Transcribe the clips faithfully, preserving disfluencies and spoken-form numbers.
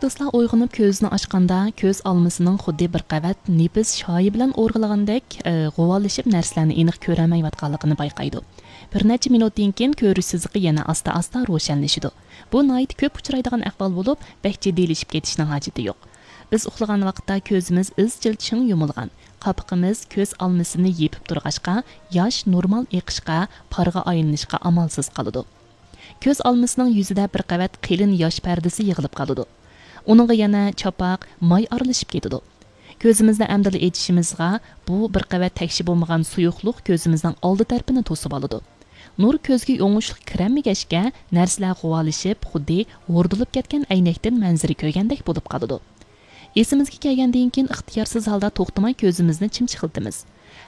دوستلار ئويغىنىپ كۆزىنى ئاچقاندا، كۆز ئالمىسىنىڭ خۇددى بىر قەۋەت نېپىز شايى بىلەن ئورىغىلىغاندەك، ئى، غۇۋالىشىپ نەرسىلەرنى ئېنىق كۆرەلمەيۋاتقانلىقىنى بايقايدۇ. بىر نەچچە مىنۇتتىن كېيىن كۆرۈش سىزىقى يەنە ئاستا-ئاستا روشەنلىشىدۇ. بۇ ناھايىتى كۆپ ئۇچرايدىغان ئەھۋال بولۇپ، بەك جىددىيلىشىپ كېتىشنىڭ ھاجىتى يوق. بىز ئۇخلىغان ۋاقىتتا كۆزىمىز ئىزچىل چىڭ يۇمۇلغان، قاپىقىمىز كۆز ئالمىسىنى يېپىپ تۇرغاچقا، ياش نورمال ئېقىشقا، پارغا ئايلىنىشقا ئامالسىز قالىدۇ. كۆز ئالمىسىنىڭ يۈزىدە بىر قەۋەت قېلىن ياش پەردىسى يىغىلىپ قالىدۇ. ئۇنىڭغا يەنە چاپاق، ماي ئارىلىشىپ كېتىدۇ. كۆزىمىزنى ئەمدىلا ئېچىشىمىزغا، بۇ بىر قەۋەت تەكشى بولمىغان سۇيۇقلۇق كۆزىمىزنىڭ ئالدى تەرىپىنى توسۇۋالىدۇ. نۇر كۆزگە ئوڭۇشلۇق كىرەلمىگەچكە، نەرسىلەر غۇۋالىشىپ، خۇددى ھوردىلىپ كەتكەن ئەينەكتىن مەنزىرە كۆرگەندەك بولۇپ قالىدۇ. ئېسىمىزگە كەلگەندىن كېيىن ئىختىيارسىز ھالدا توختىماي كۆزىمىزنى چىمچىقلىتىمىز.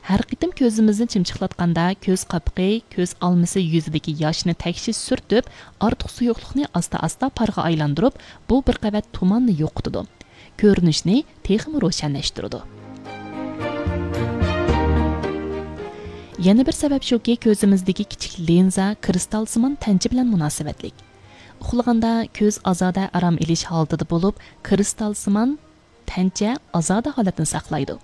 ھەر قېتىم كۆزىمىزنى چىمچىقلاتقاندا، كۆز قاپىقى، كۆز ئالمىسى يۈزىدىكى ياشنى تەكشى سۈرتۈپ، ئارتۇق سۇيۇقلۇقنى ئاستا-ئاستا پارغا ئايلاندۇرۇپ، بۇ بىر قەۋەت تۇماننى يوقىتىدۇ. كۆرۈنۈشنى تېخىمۇ روشەنلەشتۈرىدۇ. يەنە بىر سەۋەب شۇكى، كۆزىمىزدىكى كىچىك لىنزا كىرىستالسىمان تەنچە بىلەن مۇناسىۋەتلىك. ئۇخلىغاندا كۆز ئازادە ئارام ئېلىش ھالىتىدە بولۇپ، كىرىستالسىمان تەنچە ئازادە ھالەتنى ساقلايدۇ.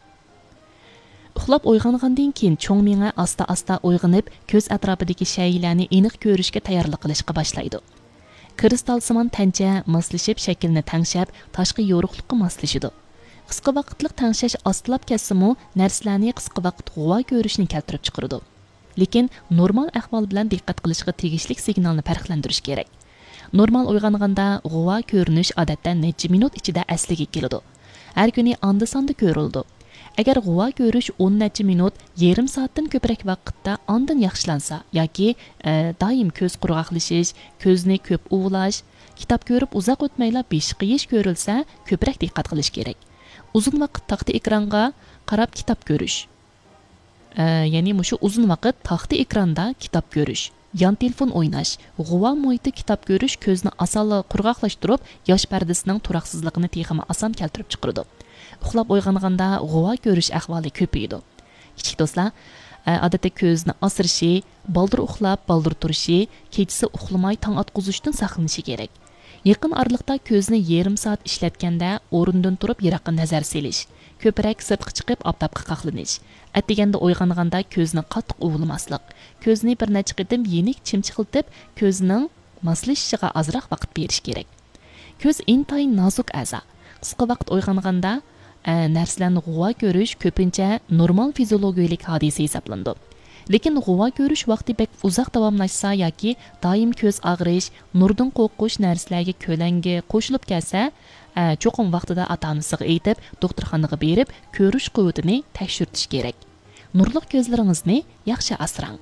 ئۇخلاپ ئويغانغاندىن كېيىن، چوڭ مېڭە ئاستا-ئاستا ئويغىنىپ، كۆز ئەتراپىدىكى شەيئىلەرنى ئېنىق كۆرۈشكە تەييارلىق قىلىشقا باشلايدۇ. كىرىستالسىمان تەنچە ماسلىشىپ، شەكلىنى تەڭشەپ، تاشقى يورۇقلۇققا ماسلىشىدۇ. قىسقا ۋاقىتلىق تەڭشەش ئاستىلاپ كەتسىمۇ، نەرسىلەرنى قىسقا ۋاقىت غۇۋا كۆرۈشنى كەلتۈرۈپ چىقىرىدۇ. لېكىن نورمال ئەھۋال بىلەن دىققەت قىلىشقا تېگىشلىك سىگنالنى پەرقلەندۈرۈش كېرەك. نورمال ئويغانغاندا غۇۋا كۆرۈنۈش، ئادەتتە، نەچچە مىنۇت ئىچىدە ئەسلىگە كېلىدۇ. ھەر كۈنى ئاندا-ساندا كۆرۈلىدۇ. ئەگەر غۇۋا كۆرۈش ئون نەچچە مىنۇت، يېرىم سائەتتىن كۆپرەك ۋاقىتتا ئاندىن ياخشىلانسا ياكى، ئە، دائىم كۆز قۇرغاقلىشىش، كۆزنى كۆپ ئۇۋىلاش، كىتاب كۆرۈپ ئۇزاق ئۆتمەيلا بېشى قېيىش كۆرۈلسە، كۆپرەك دىققەت قىلىش كېرەك. ئۇزۇن ۋاقىت تاختا ئېكرانغا قاراپ كىتاب كۆرۈش. ئە، يەنى مۇشۇ ئۇزۇن ۋاقىت تاختا ئېكراندا كىتاب كۆرۈش، يان تېلېفون ئويناش، غۇۋا مۇھىتتا كىتاب كۆرۈش كۆزنى ئاسانلا قۇرغاقلاشتۇرۇپ، ياش پەردىسىنىڭ تۇراقسىزلىقىنى تېخىمۇ ئاسان كەلتۈرۈپ چىقىرىدۇ. ئۇخلاپ ئويغانغاندا غۇۋا كۆرۈش ئەھۋالى كۆپىيىدۇ. كىچىك دوستلار، ئە، ئادەتتە كۆزنى ئاسرىشى، بالدۇر ئۇخلاپ، بالدۇر تۇرۇشى، كېچىسى ئۇخلىماي تاڭ ئاتقۇزۇشتىن ساقلىنىشى كېرەك. يېقىن ئارىلىقتا كۆزنى يېرىم سائەت ئىشلەتكەندە، ئورنىدىن تۇرۇپ يىراققا نەزەر سېلىش، كۆپرەك سىرتقا چىقىپ ئاپتاپقا قاقلىنىش، ئەتىگەندە ئويغانغاندا كۆزنى قاتتىق ئۇۋىلىماسلىق، كۆزنى بىر نەچچە قېتىم يېنىك چىمچىقلىتىپ، كۆزنىڭ ماسلىشىشىغا ئازراق ۋاقىت بېرىش كېرەك. كۆز ئىنتايىن نازۇك ئەزا. قىسقا ۋاقىت ئويغانغاندا، ئە، نەرسىلەرنى غۇۋا كۆرۈش كۆپىنچە نورمال فىزىيولوگىيەلىك ھادىسە ھېسابلىنىدۇ. لېكىن غۇۋا كۆرۈش ۋاقتى بەك ئۇزاق داۋاملاشسا ياكى دائىم كۆز ئاغرىش، نۇردىن قورقۇش نەرسىلەرگە كۆلەڭگە قوشۇلۇپ كەلسە، ئە، چوقۇم ۋاقتىدا ئاتا-ئانىسىغا ئېيتىپ، دوختۇرخانىغا بېرىپ، كۆرۈش قۇۋۋىتىنى تەكشۈرتۈش كېرەك. نۇرلۇق كۆزلىرىڭىزنى ياخشى ئاسراڭ.